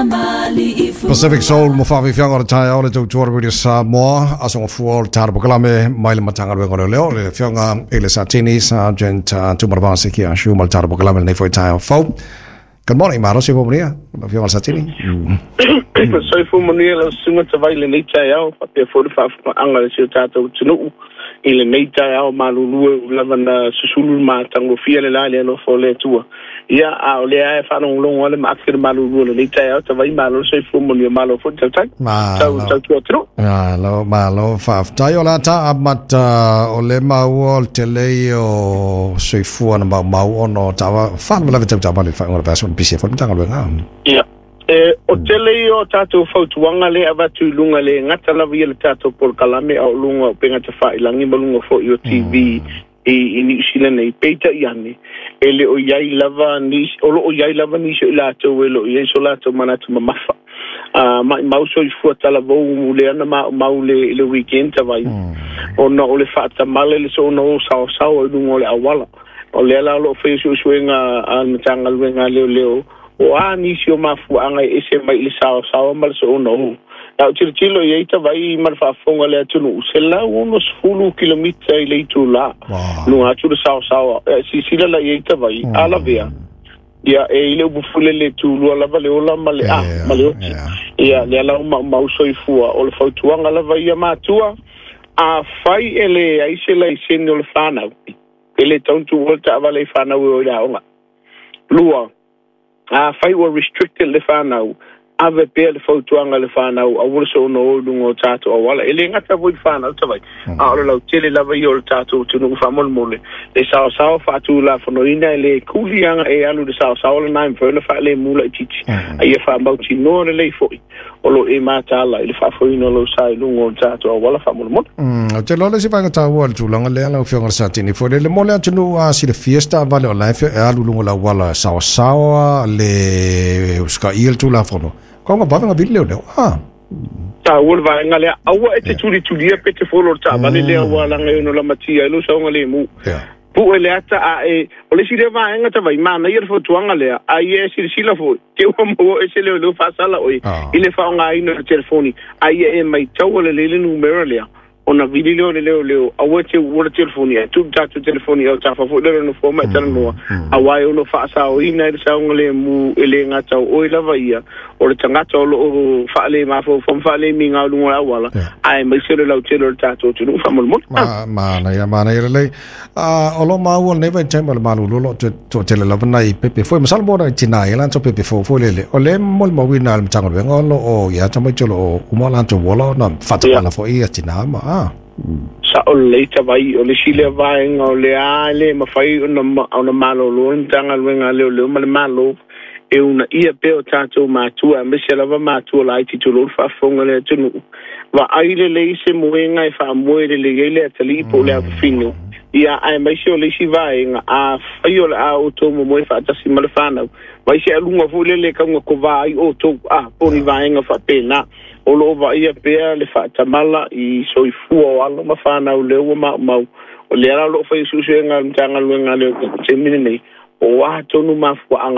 Pacific Soul mo faafiafiaga o le taeao le tautua le Radio Samoa, aso gafua o le tala polokalame mai le Matagaluega o Leoleo, le Afioga i le Satini Sergeant Tumaravasi Kia Ashu ma le tala polokalame lenei foi taeao fou. Good morning, malo soifua manuia, lau Afioga i le Satini. Soifua manuia lau susuga Tavai i lenei taeao, faapea foi le faafofogaaga a si o tatou atunuu i lenei taeao malulu e ui lava na susulu le matagofie le la i le alofa o le Atua. Ia, a o lea lava e faalogologo lava le maake o le malulu o lenei taeao, Tavai, malo le soifua manuia, malo foi le tautai. Tau, Malo. tautua atunuu. Malo, malo, faafetai. O le a ta amata o le maua o le tele ia o soifua na maumau ona o taava faalavelave tau taavale i le faaiuga o le vaiaso na pisi ai foi le Matagaluega. Ia, e, o tele ia o tatou fautuaga lea e avatu i luga, le gata lava ia le tatou polokalame, a o luga o upega tafailagi ma luga foi o TV i Niu Sila nei. Peitai ane, e le o i ai lava nisi, o lo o i ai lava nisi o i latou e le o i ai so latou manatu mamafa. A maimau soifua talavou lea na maumau le, le weekend tavai, ona o le faatamala i le soona o saosaoa i luga o le auala. O lea la o lo o faia suesuega a le Matagaluega a Leoleo, o a nisi o mafuaaga e ese mai i le saosaoa ma le soona o. A ou tilotilo i ai tavai ma le faafofoga a le atunuu, 160 kilomita i le itula, luga atu le saosaoa. E silasila la i ai tavai, a lavea, ia, e i le upu foi lele, tulua lava le ola ma le a, ma le oti. Ia, lea la ua maumau soifua. O le fautuaga lava ia matua, afai e leai se laisene o le fanau, e le tatau ona tuua le taavale i fanau e o i le aoga. Lua, afai ua restricted le fanau, ave pea le fautuaga i le fanau, aua le soona o i luga o tatou auala. E le gata foi i le fanau tavai, a o le lautele lava ia o le tatou atunuu faamolemole. Le saosaoa faatulafonoina e le kuli aga e alu i le saosaoa lena e mafai ona faalemu laitiiti, a ia faamautinoa lelei foi o lo o e mataala i le faafoeina o lou sa i luga o le tatou auala faamolemole. Ou te iloa le isi vaega taua o le tulaga lea lau Afioga i le Satini foi lele mo le atunuu a silafia se taavale o la e alu i luga o le auala saosaoa le usitaia le Tulafono. Kau nga vave nga vili leoleo. Ah. Taua le vaega lea, aua e te tulitulia pe te folo le taavale lea ua laga e ono lamatia ai lou saogalemu. Pue le ata a e, o le isi lea vaega tavai, manaia le fautuaga lea, a ia e silasila foi, te ua maua ese leoleo faasala oe i le faaaogaina o le telefoni, a ia e maitaua lelei le numera lea, ona vili lea o le leoleo, aua e te uua le telefoni, ae tuu le tatou telefoni i autafa foi lea o le nofoa ma e talanoa, aua e ono faasaoina ai le saogalemu e le gata o oe lava ia, o le tagata o lo o faalemafaufau ma faalemigao i luga o le auala, aemaise o le lautele o le tatou atunuu faamolemole. Manaia, manaia lelei. O lo o maua lenei vaitaimi o le malulu o lo o toatele lava nai pepe foi. Masalo mo nai tina ia latou pepe fou foi lele. O le molimauina a le Matagaluega o lo o ia tamaiti o lo o uma latou ola ona faatamala foi ia tina ma a. Sao lelei tavai, o le isi lea vaega o lea e le mafai ona malolo le Matagaluega a Leoleo ma le Malo e uunaia pea o tatou matua, aemaise lava matua laiti tulou le faafofoga a le atunuu. Vaai lelei se moega e faamoe lelei ai le atalii po o le afafine, ia, aemaise o le isi vaega, afai o le a outou momoe faatasi ma le fanau, vaai se aluga foi lele e kaugakovā ai outou, a, po o ni vaega faapena. O lo o vaaia pea le faatamala i soifua o alo ma fanau lea ua maumau. O lea la o lo o fai suesuega a le Matagaluega a Leoleo i le taimi lenei, o a tonu mafuaaga.